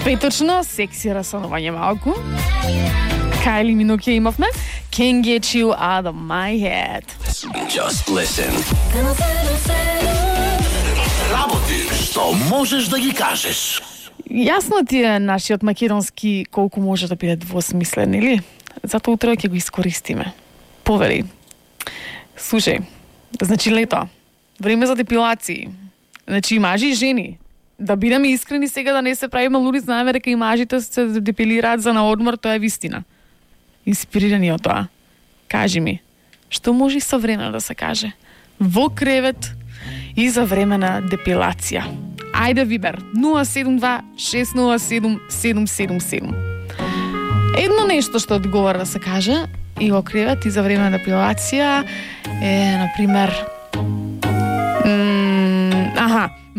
Петочно, секси расанување малку. Kylie Minogue имавме. Can't get you out of my head. Just listen. Работи што можеш да ги кажеш. Јасно ти е нашиот македонски колку може да биде двосмислен, или? Затоа утре ќе го искористиме. Повери. Слушај, значи лето, време за депилации. Значи мажи и жени. Да бидеме искрени сега, да не се правиме луди, знаеме дека и мажите се депилираат за на одмор, тоа е вистина. Инспирирани од тоа. Кажи ми, што може и со време да се каже? Во кревет и за време на депилација. Ајде Вибер, 072-607-777. Едно нешто што одговара да се каже и во кревет и за време на депилација е, например,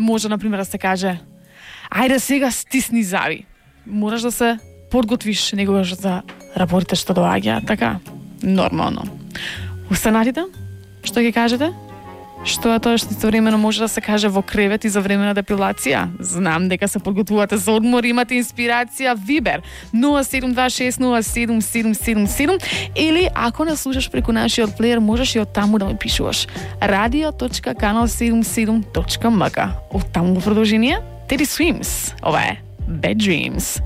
може, например, да се каже ајде сега стисни зави. Мораш да се подготвиш негогаш за работите што доаѓаат, така? Нормално. Останатите? Што ги кажете? Што е тоа што истовремено може да се каже во кревет и за време на депилација? Знам дека се подготвувате за одмор, имате инспирација, Вибер 072-607-777 или ако не слушаш преку нашиот плеер, можеш и од таму да ме пишуваш radio.canal77.mk. Од таму во продолжение Teddy Swims. Ова е Bad Dreams.